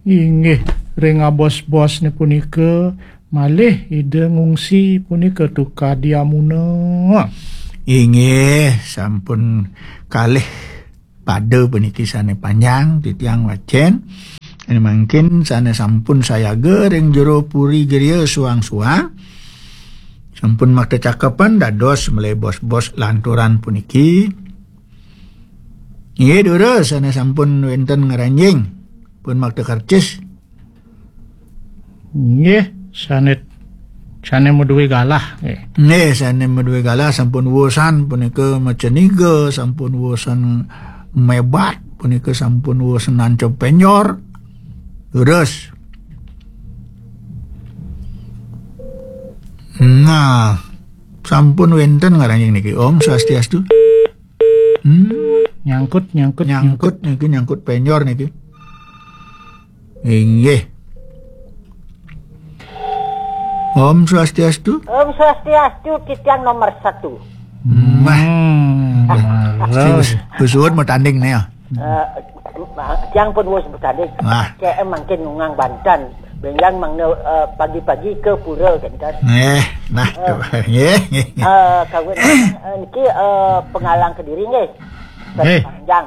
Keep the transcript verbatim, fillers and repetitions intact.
Inggih, ring abos-bosné punika malih Ida ngungsi punika tukadi amuna. Inggih, sampun kalih pada puniki sané panjang titiang wacén. Sané mangkin sané sampun sayaga ring jero puri griya suang-suang. Sampun makta cakepan dados malih bos-bos lanturan puniki. Inggih, durus sané sampun wénten ngranjing. Pun makta kercis. Nggih, sané, sané madué galah, nggih. Nggih, sané madué galah sampun wusan punika maceniga, sampun wusan mebat, punika sampun wusan nancep penjor. Durus. Nah, sampun wénten ngranjing niki. Om Swastiastu. Hmm, nyangkut, nyangkut, nyangkut niki, nyangkut penjor niki. Inggih. Om Swastiastu. Om Swastiastu, titiang nomor satu. Wah. Hmm, leres. Wis, wis suwun matanding nih ya. Eh, tiang pun wis matanding. Wah. Kayak mangkin ngungang banten. Bénjang mangda, eh, pagi-pagi ke pura kénten. Nggih, nah, nggih, nggih. Eh, kawin, eh, niki, eh, Pengalang Kediri nggih. Nggih. Panjang.